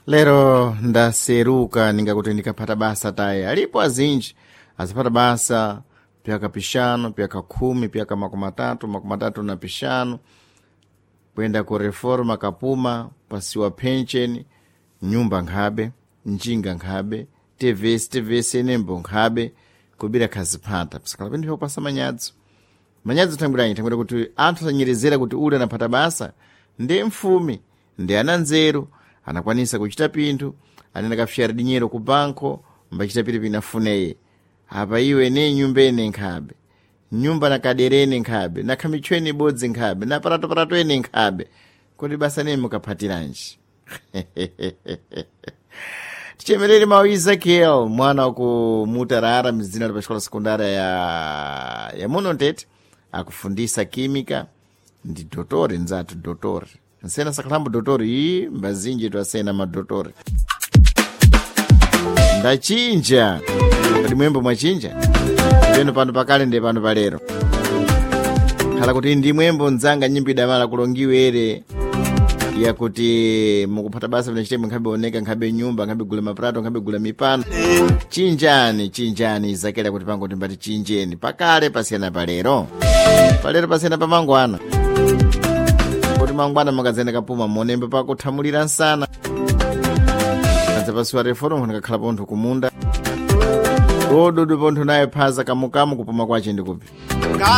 Lero ndaseruka ningakuti ndikaphata basa taye. Alipo azinji aziphata basa pyaka pixanu, pyaka 10, pyaka 30, 35, kuyenda ku reforma kapuma, pasiwa pension, nyumba nkhabe, njinga nkhabe, tvs tvs enembo nkhabe, kubira khaziphata. Pisakhala pinthu pyakupasa manyadzo. Manyadzo thangwiranyi, thangwira kuti anthu asanyerezera kuti ule anaphata basa ndi mfumi, ndi ana nzeru, anakwanisa kuchita pinthu, anene akafyara dinyero ku banko, mbachita pili afuneye. Apa iwe ne nyumba ene nkhabe, nyumba na kaderene nkhabe, na khamichweni ibodzi nkhabe, na paratoparato ene nkhabe, kuti basa nene mukaphatiranji. Tichemerere mawu Ezekiel, mwana waku Mutarara, mzina la paxikola sekundara ya muno Ntete, akufundisa química, ndi dotori nzathu dotori. Nsena sakhalambo dotori iyi, mbazinji twasena madotori. Ndachinja. Kodi mwembo mwachinja? Peno pano pakale ndi pano palero. Khala kuti ndi mwembo nzanga nyimbo idamala kulongiwe ere yakuti mukuphata basa vinachitemo nkhabe oneka, nkhabe nyumba, nkhabe gula maprato, nkhabe gula mipano. Chinjani, chinjani Ezekiel kuti pango timbati chinjeni. Pakale pasiyana palero. Palero pasiyana pamangwana. Kuti mangwana mukadzenda kapuma monembe pakuthamulira nsana. Kadzapasiwa reform ndikakhala pontho kumunda. Dododo pontho naye phaza kamukamu kupuma kwache ndikupi.